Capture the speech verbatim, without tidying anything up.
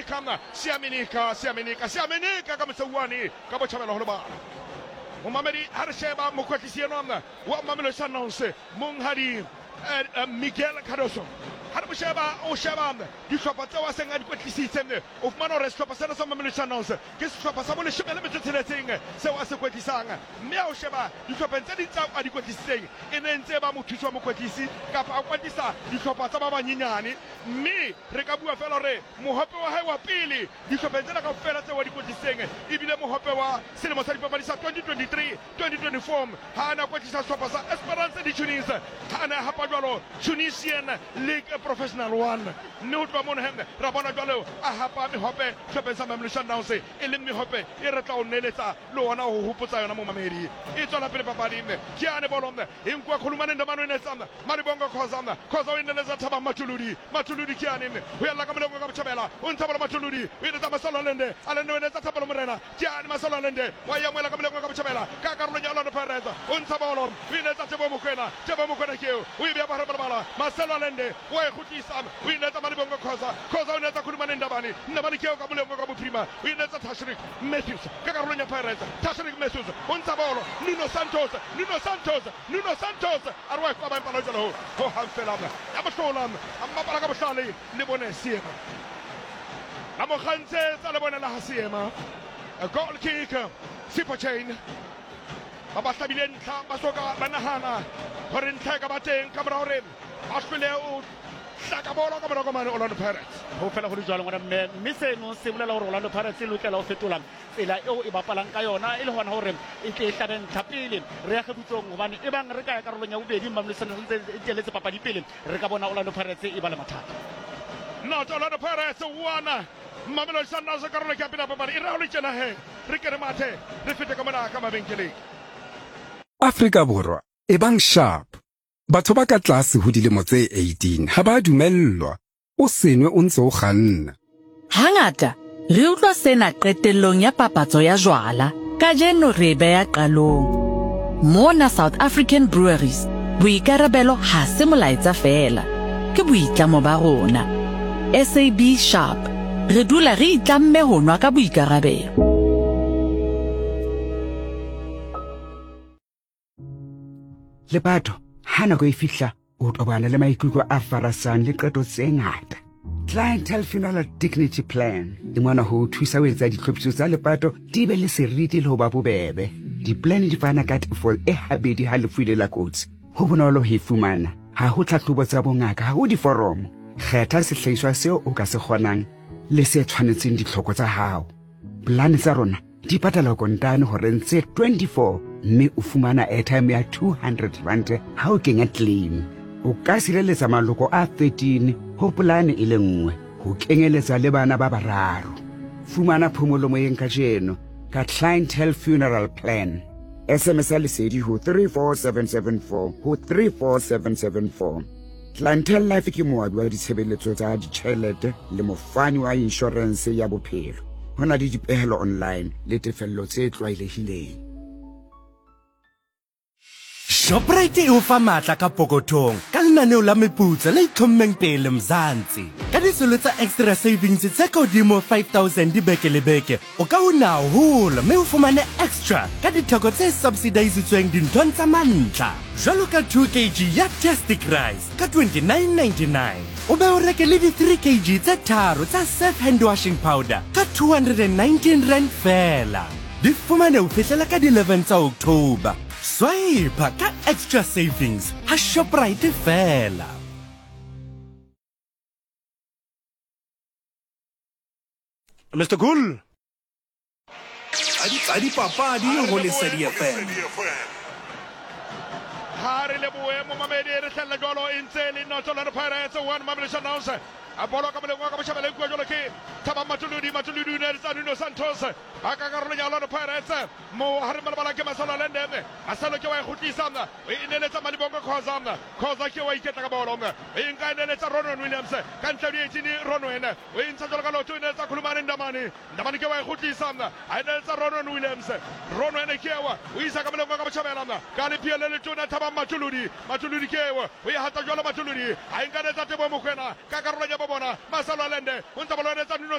Siamenika Siamenika Siamenika Siamenika ka mosauane ka botjhabela ho lebala. Momamedi ha re sheba mokwetlisi enwa wa Mamelodi Sundowns monghadi Miguel Cardoso, ha re mo sheba o sheba dihlopha tseo a seng a di kwetlisitse, o fumana hore sehlopha sena sa Mamelodi Sundowns ke sehlopha sa boleshome le metso e tsheletseng seo a se kwetlisang, mme ha o sheba dihlopheng tse ding tseo a di kwetlisitseng e ne ntse ba mothusi wa mokwetlisi kapa a kwetlisa dihlopha tsa ba banyenyane. Mme re ka bua fela hore mohope wa hae wa pele dihlopheng tsena kaofela tseo a di kwetlisitseng ebile mohope wa selemo sa dipapadi sa twenty twenty-three twenty twenty-four ha a na kwetlisa sehlopha sa Esperance de Tunis, ha a na hapa jwalo Tunisian League Professional One. Mme ho tloha mono he ra bona jwalo a hapa mehope hlopheng sa Mamelodi Sundowns, e leng mehope e re tla o neletsa le ona ho hopotsa yona momamedi. E tswela pele papadi ke ane bolo e nkuwa Khulumane Ndamane o inetsa Malibongo Khoza, Khoza o ineletsa Thabang Matuludi, Matuludi ke ane ho yalla ka molengwe ka botjhabela o ntsha bolo Matuludi o inetsa Marcelo Allende, Allende o inetsa Thapelo Morena, ke ane Marcelo Allende wa yamoela ka molengwe ka botjhabela ka karolong ya Orlando Pirates o ntsha bolo o inetsa Tebo Mokoena, Tebo Mokoena ke eo o e beha bohare ba lebala, Marcelo Allende wa e kgutlisa o inetsa Malibongo Khoza, Khoza o inetsa Khulumane Ndamane, Ndamane ke eo ka molengwe ka bophirima o inetsa Tashrik Matthews ka karolong ya Pirates, Tashrik Matthews o ntsha bolo Nuno Santos, Nuno Santos, Nuno Santos a re wa e fa ba jwalo ho hang fela ya mohlola a mmapala ka bohlale le bone seema la mo kgantsetsa le bone la ha seema. A goal kick Sipho Chaine ba ba hlabile ntlha ba soka ba nahana hore ntlha e ka ba teng ka mora hore ba hlole o hlaka bolo ka morao mane Orlando Pirates. Ho fela ho le jwalo ngwana mme, mme seno se bolela hore Orlando Pirates e lokela ho fetola tsela eo e bapalang ka yona e le hona hore e tle e hlabe ntlha pele re ya kgebutsong, hobane e bang re ka ya karolong ya bobedi Mamelodi Sundowns ntse e teletse papadi pele re ka bona Orlando Pirates e ba le mathata. Not Orlando Pirates one Mamelodi Sundowns karolo ke ya pele ya papadi e re ha o le tjena he re ke re mathe re fete ka mona ka mabenkeleng. Afrika Borwa e bang sharp. Batho ba ka tlase ho dilemo tse eighteen ha ba dumellwa o senwe o ntse o kganna. Hangata re utlwa sena qetellong ya papatso ya jwala. Kajeno re beya qalong. Mona South African Breweries, boikarabelo ha se molaetsa fela, ke boitlamo ba rona. S A B Sharp, re dula re itlamme ho nwa ka boikarabelo. Lepato ha nako e fihla o tobana le maikutlo a farasang le qeto tse ngata. Clientele Funeral Dignity Plan di mona ho thusa ho etsa ditlhophiso tsa lepato di be le seriti le ho ba bobebe. Di-plan di fana ka tefo e habedi ha lefu ile la kotsi. Ho bonolo ho e fumana, ha ho tlhahlobo tsa bongaka, ha ho diforomo. Kgetha sehlahiswa seo o ka se kgonang le se tshwanetseng ditlhoko tsa hao. Plan tsa rona di patala kontane horeng tse twenty-four mme o fumana airtime ya two hundred rand ha o kenya claim. O ka sireletsa maloko a thirteen ho polane e le nngwe ho kenyeletsa le bana ba bararo. Fumana phomolo moyeng kajeno ka Clientele Funeral Plan. S M S ya lesedi ho three four seven seven four ho three four seven seven four. Clientele Life ke moabi wa ditshebeletso tsa ditjhelete le mofani wa inshorense ya bophelo. Ho na le dipehelo online le tefello tse tlwaelehileng. Shoprite e o fa matla ka pokothong ka lenaneo la meputso le itlhommeng pele Mzansi. Ka ditsolo tsa extra savings tse ka hodimo five thousand dibeke le beke, o ka una haholo mme o fumane extra ka ditheko tse subsidisitsweng dinthong tsa mantlha. Jwalo ka two kilograms ya Tastic Rice ka twenty-nine ninety-nine. O be o reke le di three kilograms tse tharo tsa Surf hand washing powder ka two hundred and nineteen rand fela. Di fumane ho fihlela ka di eleven tsa October. Swipe ka extra savings ha Shoprite fela. Mister Cool. Tsa dipapadi ho Lesedi F M. Ha re lebohe momamedi re hlella jwalo e ntse le not Orlando Pirates one Mamelodi Sundowns. A bolo ka molengwe ka botjhabela e nkuwa jwalo ke Thabang Matuludi, Matuludi o neletsa Nuno Santos ba ka karolong ya Orlando Pirates mo hare malebala ke Marcelo Allende, Marcelo ke wa e kgutlisa o e neletsa Malibongo Khoza, Khoza ke wa iketla ka bolo e nka e neletsa Ronwen Williams ka ntle di eighteen Ronwen o e ntsha jwalo ka lotho o neletsa Khulumane Ndamane, Ndamane ke wa e kgutlisa a e neletsa Ronwen Williams, Ronwen ke wa o isa ka molengwe ka botjhabela ka lephio le letona Thabang Matuludi, Matuludi ke wa o e hata jwalo Matuludi a e nka netsa Tebo Mokoena ka karolong ya bona Marcelo Allende o ntse ba lwanetsa Nuno